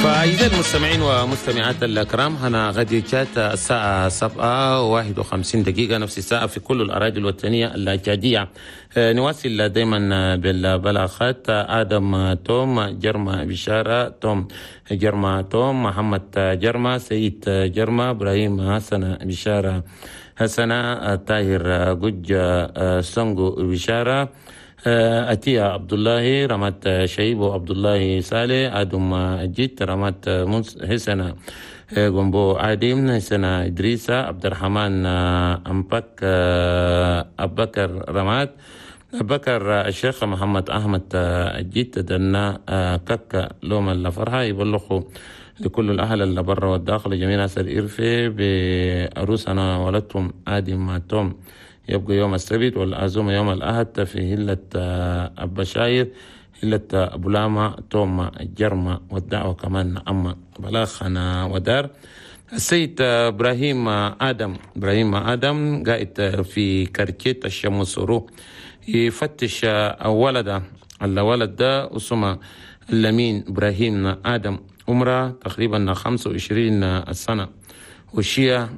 فأعزائي المستمعين ومستمعات الكرام، هنا غادي تشاد الساعة 7:51، نفس الساعة في كل الأراضي الوطنية التشادية. نواصل دائما بالبلاغات. آدم توم جرما، بشارة توم جرما، توم محمد جرما، سيد جرما، إبراهيم حسن بشارة حسنة، طاهر جج سونغو بشارة، أتيا عبد الله رمات، شيبو عبد الله صالح، آدم جيت رمات، حسنة غومبو عادم، حسنة إدريسة، عبد الرحمن أمبك، أبكر رمات، بكر الشيخ محمد أحمد جيت، دنا كك لوم الفرحة. يبلغوا لكل الأهل اللي برا والداخل، جميع ناس الإرفي، بعروسنا ولدتهم آدم توم، يبقى يوم السبت والعزومة يوم الأحد في هلة أبشاير، هلة أبو لاما توم جرمة، والدعوة كمان أما بلاخنا ودار. السيد إبراهيم آدم، إبراهيم آدم قاعد في كركيت الشمسورو، يفتش ولده، الولد ده اسمه اللمين إبراهيم آدم، عمره تقريبا 25 سنة، وشيا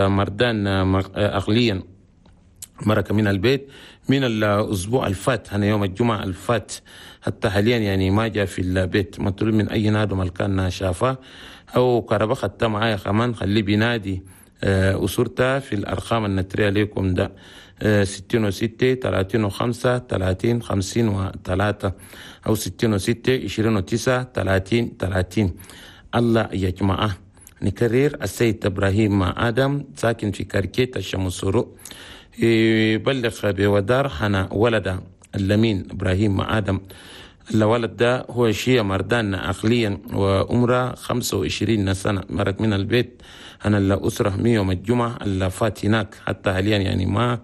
مردان عقليا، مرق من البيت من الأسبوع الفات، هنا يوم الجمعة الفات، حتى حاليا يعني ما جاء في البيت. مطلوب من أي نادم كان شافه أو كربة خدت معايا كمان، خليه بينادي أسرته في الأرقام النترية ليكم ده: 66 35 30 53 أو 66 29 30 30. الله يا جماعة، نكرر: السيد إبراهيم آدم ساكن في كركيت الشمسورو، يبلغ بودار حنا ولد اللمين إبراهيم آدم. الولد ده هو شيء مردان عقليا وعمره 25 سنة، مرق من البيت أنا الأسرة من يوم الجمعة اللي فات هناك، حتى حاليا يعني ما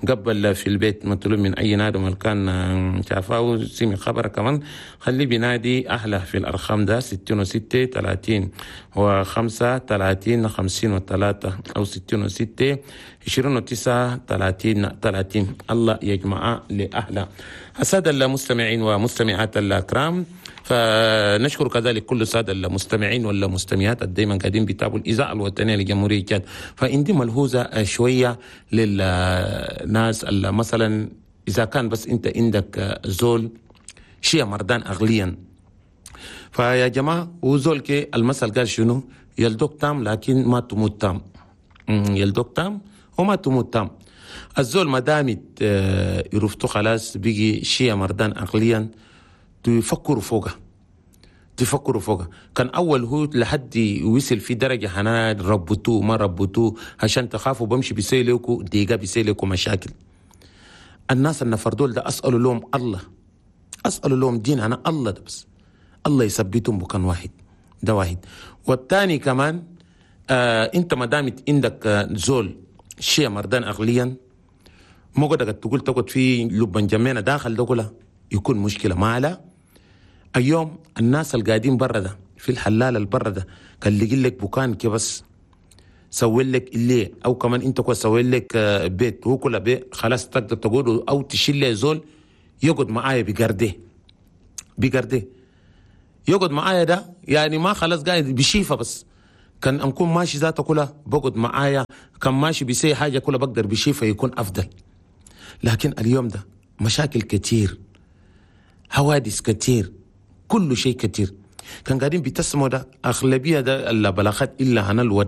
قبل في البيت. مطلوب من أي نادم كان شافاه سمع خبر كمان، خليه بينادي أهله في الأرقام ده: 66 30 و5 30 53 أو 66 29 30 30. الله يجمع لأهله. السادة المستمعين ومستمعات الأكرام، فنشكر كذلك كل السادة المستمعين والمستمعات دايما قاعدين بيتابعوا الإذاعة الوطنية لجمهورية تشاد. فعندي ملحوظة شوية للناس اللي مثلا إذا كان بس أنت عندك زول شيء مردان عقليا، فيا جماعة وزول كي المثل قال شنو؟ يلدوك تام لكن ما تموت تام، يلدوك تام وما تموت تام. الزول ما دامت يرفتو خلاص بيجي شيء مردان عقليا، تفكروا فوقه، تفكروا فوقه. كان اول هو لحد وصل في درجه حنا ربطوه ما ربطوه عشان تخافوا، بمشي بيسيلكوا ديقه بيسيلكوا مشاكل. الناس النفر دول ده اسالوا لهم الله، اسالوا لهم دين انا الله ده بس الله يثبتهم بكان واحد ده واحد. والثاني كمان انت ما دامت عندك زول شيء مردان عقليا، مو قدرت تقول تقعد في لبن جمينا داخل ده كله يكون مشكلة. ما على اليوم الناس القاعدين برا ده في الحلال البرا ده كان لقي لك بكان كي بس سوي لك اللي او كمان انت كو سوي لك بيت هو كله بيت خلاص تقدر تقول او تشيل لي زول يقعد معايا بقرده بقرده يقعد معايا ده يعني ما خلاص قاعد بشيفه بس كان نكون ماشي ذاته كلها بقعد معايا، كان ماشي بيسي حاجة كلها بقدر بشيفه يكون افضل. لكن اليوم ده مشاكل كتير، حوادث كتير، كل شيء كتير. كان قاعدين بيتسموا ده أغلبية ده البلاغات إلا عن الوداع.